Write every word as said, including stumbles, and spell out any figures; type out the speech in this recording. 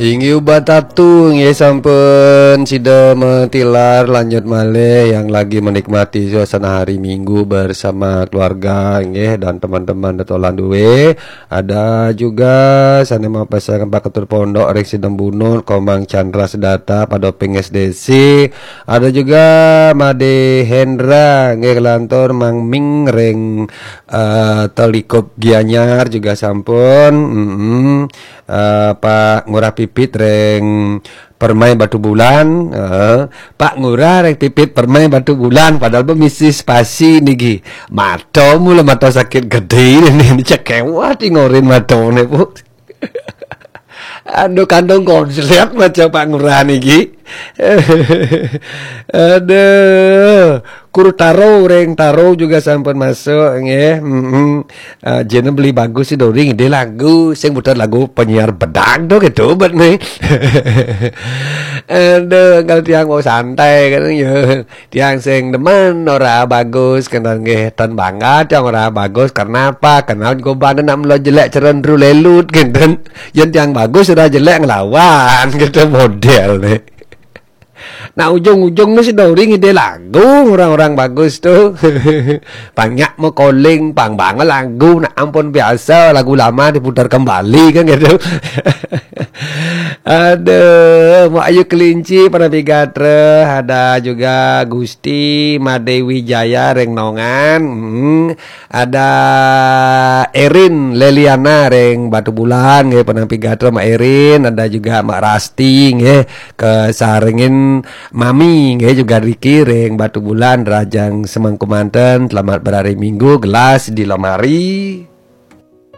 Inggih ubat atu, nggih sampun sida matilar, lanjut malih yang lagi menikmati suasana hari Minggu bersama keluarga, nggih, dan teman-teman detolan duwe. Ada juga sane mapesaken Pak Ketua Pondok ring Sidembunut, Komang Chandra Sedata, Padoping S D C. Ada juga Made Hendra, nggih, kelantur Mang Ming ring, eh, Telikup Gianyar juga sampun. Mm-mm. Eh, Pak Ngurah Pipit ring Permai Batu Bulan, eh, Pak Ngurah ring Pipit Permai Batu Bulan, padahal be misi spasi niki. Mata mula mata sakit gede ini, ini cekewat ngorin matane, Bu. Aduh, kandung konslet macam Pak Ngurah niki. Aduh, Kurtaro ring Taro juga sampun masuk, nggih. Mm-mm. Ah, jene beli bagus sih Dori ngide lagu, sing muter lagu penyiar bedak do gitu bet nih. Aduh, kalau tiang mau santai kan ya. Tiang sing demen ora bagus, kenten nggih, ten bangga tiang ora bagus. Kenapa? Kenal go banda nak melo jelek ceren dru lelut kenten. Yen tiang bagus ora jelek ngelawan gitu model nih. Nah, ujung-ujung nih si Dori ngide lagu orang-orang bagus tuh. Banyak mau calling, pang banget lagu, nak ampun biasa lagu lama diputar kembali kan gitu. Aduh, Mak Ayu Kelinci, Panapi Gatra, ada juga Gusti Made Wijaya Rengnongan, hmm, ada Erin Leliana Reng Batu Bulan, nggih, Panapi Gatra Mak Erin, ada juga Mak Rasti, nggih, kesarengin Mami, nggih, juga Riki Reng Batu Bulan, Rajang Semangku Manten, selamat berhari Minggu, gelas di lemari.